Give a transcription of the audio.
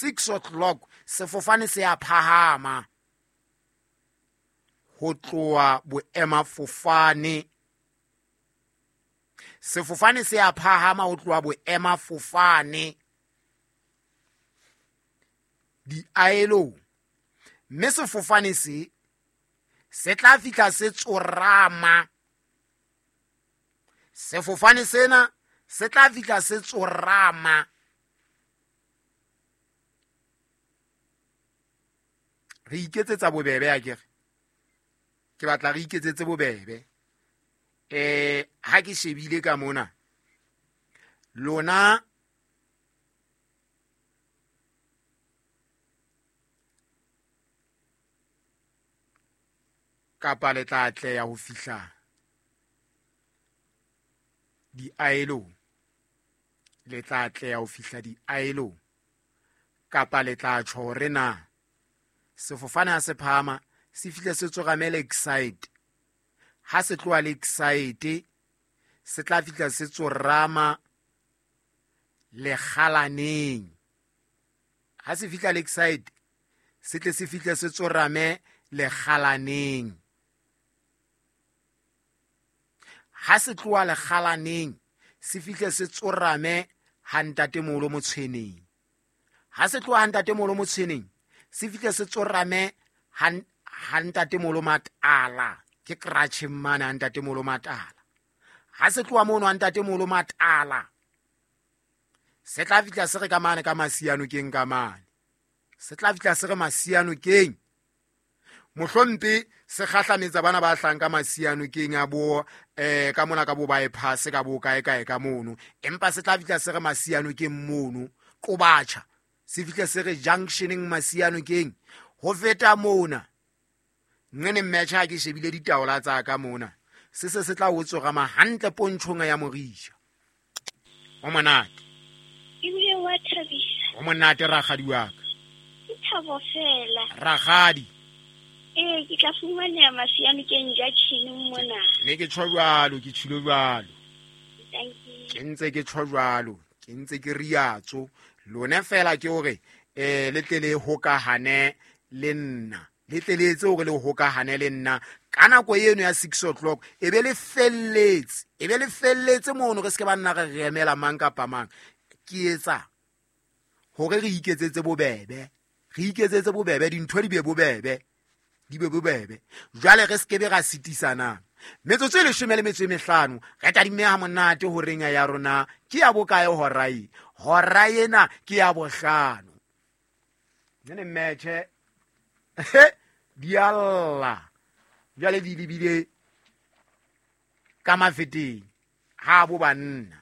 6 o'clock sefofane se a phahama ho tloha boemafofane. Sefofane se a phahama ho tloha boemafofane diaelong, mme sefofane se se tla fihla se tsorama. Sefofane sena se tla fihla se tsorama re iketsetsa bobebe. Akere ke batla re iketsetse bobebe. Ha ke shebile ka mona lona, kapa le tla atleha ho fihla diaelong, le tla atleha ho fihla diaelong, kapa le tla tjho hore na sefofane ha se phahama se fihle se tsorame Lakeside, ha se tloha Lakeside se tla fihla se tsorama Lekgalaneng, ha se fihla Lakeside se tle se fihle se tsorame Lekgalaneng, ha se tloha Lekgalaneng se fihle se tsorame ha Ntatemoholo Motshweneng, ha se tloha ha Ntatemoholo Motshweneng se fihle se tsorame ha Ntatemoholo Matala, ke kratšheng mane ha Ntatemoholo Matala, ha se tloha mono ha Ntatemoholo Matala se tla fihla se re ka mane ka Masianokeng, ka mane se tla fihla se re Masianokeng, mohlompe se kgahlametsa bana ba hlang ka Masianokeng a bo ka mona ka bo bypass ka bo kae kae ka mono, empa se tla fihla se re Masianokeng mono Qobatjha, se fihle se re junctioneng Masianokeng. Ho feta mona nqene mmetjha, ha ke shebile ditaola tsa ka mona, se se se tla o tsorama hantle pontšhong ya Morisha. O monate. Ebile wa thabisa. O monate, rakgadi wa ka. Ke thabo fela. Rakgadi. Ee, ke tla fumaneha Masianokeng junctioneng mona. Ne ke tjho jwalo, ke tjhilo jwalo. Thank you. Ke ntse ke tjho jwalo, ke ntse ke riatso lone fela, ke hore le tle le hokahane le nna, le tle le etse hore le hokahane le nna ka nako eno ya 6 o'clock, e be le felletse, e be le felletse mono, re se ke ba nna re re emela mang kapa mang. Ke etsa hore re iketsetse bobebe, re iketsetse bobebe, dintho di be bobebe, di be bobebe. Jwale re se ke be ra sitisanang. Metsotso e 15 re tadimme ha monate horeng ya rona ke ya bokae hora e? Hora ena ke ya bohlano nene mmetjhe di alla jwale di lebile ka mafeteng ha bo banna.